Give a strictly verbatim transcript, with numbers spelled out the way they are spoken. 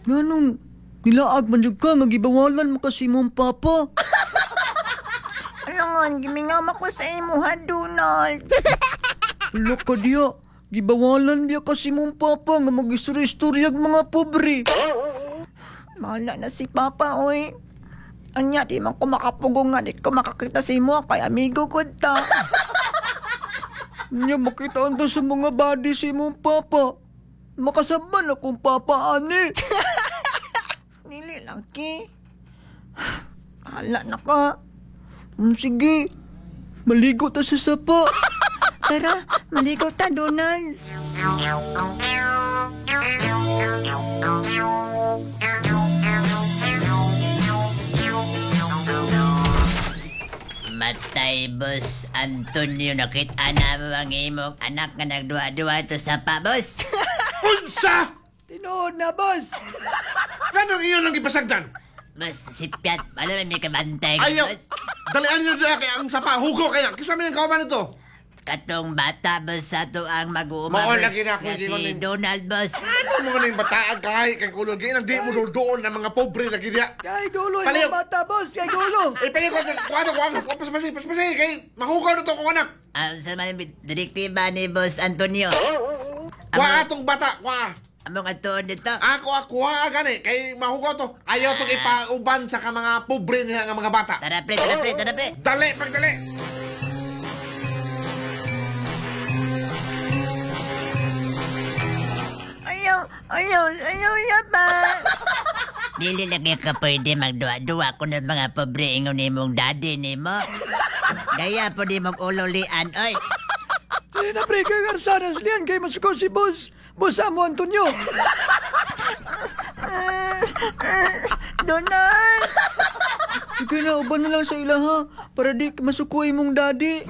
Nganong nilaag man jud ka nga gibawalan mo kasi mong papa. Alangan, gimingaw ko sa imo ha, Donald. Hala ka diya. Gibawalan biya kasi mong papa nga mag-istorya-istoryag mga pobre. Bahala na si Papa, oy. Anya, di man ko makapugong nga, di ko makakita sa imo, kay amigo ko ta. Nya makita ta sa mga body si mong papa. Makasaban akong papa ani. Dili lagi. Bahala na ka. Mm, sige, maligo ta sa sapa. Tara, maligo ta, Donald. Matay, boss Antonio, nakita na mo ang imong anak nga nagduwa-duwa ito sa pa, boss. Unsa! Tinuod na, boss. Ganong iyon lang gipasagdan? Boss, si Piat, wala may kabantay ka, Ayaw! boss. Dalian nyo dila kay ang sapa, hugo kaya. Kisa man ang kauban nito. Katong bata, boss, sa ato ang mag-uuma, Mao boss. lagi na ako, Nga hindi ko si nin- Donald, boss. Ano mo ning bataag kay kay kulog ang di mo dulduol ng mga pobre lagi diya. Kay dulo Palayo. imong bata, boss. Kay dulo. Eh, pili ko, kuha kuha kuha paspasi, paspasi, kay mahugaw na to kong anak. Ang sa man direktiba ni boss Antonio. Kuha atong bata, kuha. Among atuon dito. Ako, ah, kuha gani, kay mahugaw to. Ayaw tong ipauban sa ka mga pobre nila nga mga bata. Tara, pre, tara, pre, tara, pre. Dali, pagdali. Ayaw, ayaw, ayaw, yaba. Dili lagi ka pwede magduwa-duwa kung ng mga pobre ingon nimong daddy nimo. Gaya po di mong ululian, oy. Dili na pre, kay Garzanas liyan kay masuko si boss. Boss Amo Antonio. Donald! Sige na, uban na lang sa ila ha. Para di masuko imong daddy.